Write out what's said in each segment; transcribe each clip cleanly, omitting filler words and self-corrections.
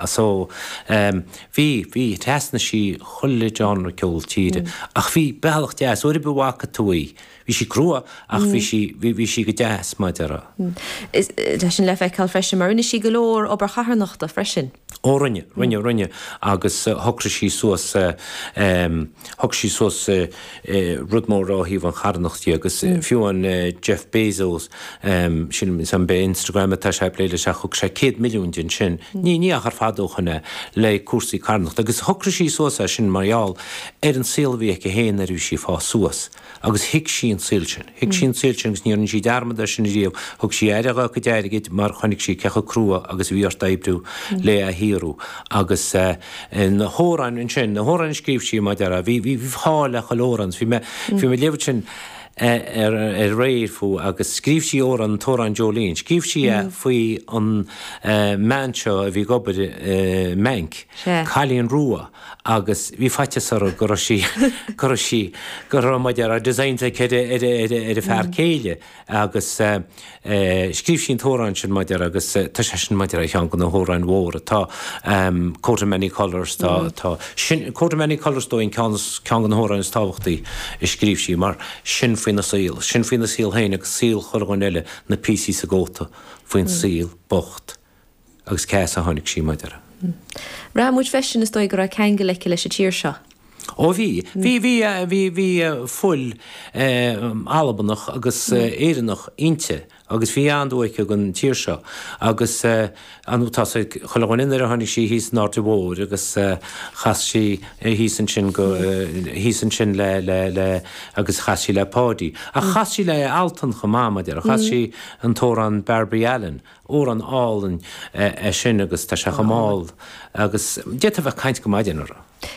So, bhí, bhí, thrasnaigh sí chuile genre ceol tíre ach bhí bealach deas, uair ar bith a bhfaca tú í, bhí sí crua ach bhí sí, bhí, bhí sí go deas, mar a déarfá. Tá sin le feiceáil freisin mar rinne sí go leor obair charthanachta freisin. Ó rinne, rinne, rinne agus shocraigh sí suas, shocraigh sí suas rud mór ó thaobh an charthanacht dhe agus fiú an Jeff Bezos, sílim is an b'é Instagram atá sé ag plé leis ach thug sé 100 milliún di ansin, ní ní achar fada ó shoin é, le cúrsaí carthanachta agus shocraigh sí suas é sin mar gheall ar an saol a bhí aici féin nuair a bhí sí ag fás suas. Agus thuig sí an saol sin. Thuig sí an saol sin agus ní rinne sí dearmad air sin riamh. Thug sí aire dhá cuid airgid mar chonaic sí cé chomh crua agus a bhí ort oibriú le é a shaothrú. Agus na hamhráin ansin, na hamhráin a scríobh sí, mar a déarfá, bhí, bhí fáil le chuile amhrán. Bhí mé, bhí mé ag léamh ansin ar aréir fúithi agus scríobh sí amhrán, an t-amhrán Jolene. Scríobh sí é faoi an mbean seo a bhí ag obair i mbanc, cailín rua. agus bhí faitíos uirthi go raibh sí, go raibh sí, go raibh mar a déarfá designs aici ar a, ar a, ar a, ar a fear céile agus scríobh sí an t-amhrán sin mar a déarfá agus tá sé sin mar a déarfá ar cheann de na hamhráin mhóra. Tá Coat of Many Colours, tá, tá, sin, Coat of Many Colours is dóigh an ceann is, ceann de na hamhráin is tábhachtaí a scríobh sí mar sin faoina saol, sin faoina saol féin agus saol chuile dhuine eile, na píosaí sa gcóta, faoin saol bocht. Agus cé as a tháinig sí, mar a déarfá? Bhraith muid freisin, is dóigh, go raibh ceangal aici leis an tír seo. Ó bhí. Bhí, bhí, bhí, bhí fuil Albanach agus Éireannach inti agus bhí an-dua aici don tír seo. Agus an, tá 's ag chuile dhuine nuair a tháinig sí thíos an Aird Mhóir agus chas sí thíos ansin go, thíos ansin le, le, le, agus chas sí le Páidí. Ach chas sí le Altan chomh maith, mar a déarfá. Chas sí an t-amhrán Barbie Allen. Amhrán álainn é sin agus tá sé chomh mall agus d'fhéadfá a bheith ag caint go maidin orthu.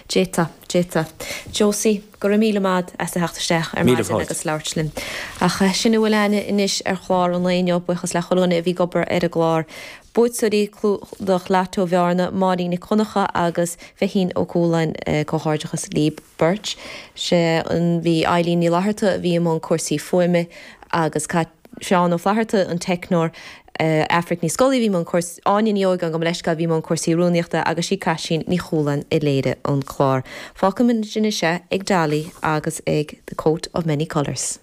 D'fhéadfá, d'fhéadfá. Josie, go raibh míle maith as a theacht isteach ar maidin agus labhairt linn. Ach sin a bhfuil a'inne anois ar chlár an lae inniu, buíochas le chuile dhuine a bhí ag obair ar an gclár. Buaiteoirí Clúdach Lató Bhearna, Máirín Nic Dhonncha agus Feichín Ó Cualáin, comhghairdeachas libh beirt. Sé an, bhí Eileen Ní Fhlatharta a bhí i mbun cúrsaí fuaime agus Cáit, Seán Ó Flatharta, an teicneoir, Aifric Ní Scolaí a bhí i mbun cúrsaí, Áine Ní Ógáin, gabh mo leithscéal, a bhí i mbun cúrsaí rúnaíochta agus sí Caitlín Ní Chualáin a léirigh an clár. Fágfaimid anois é ag Dolly agus ag The Coat of Many Colours.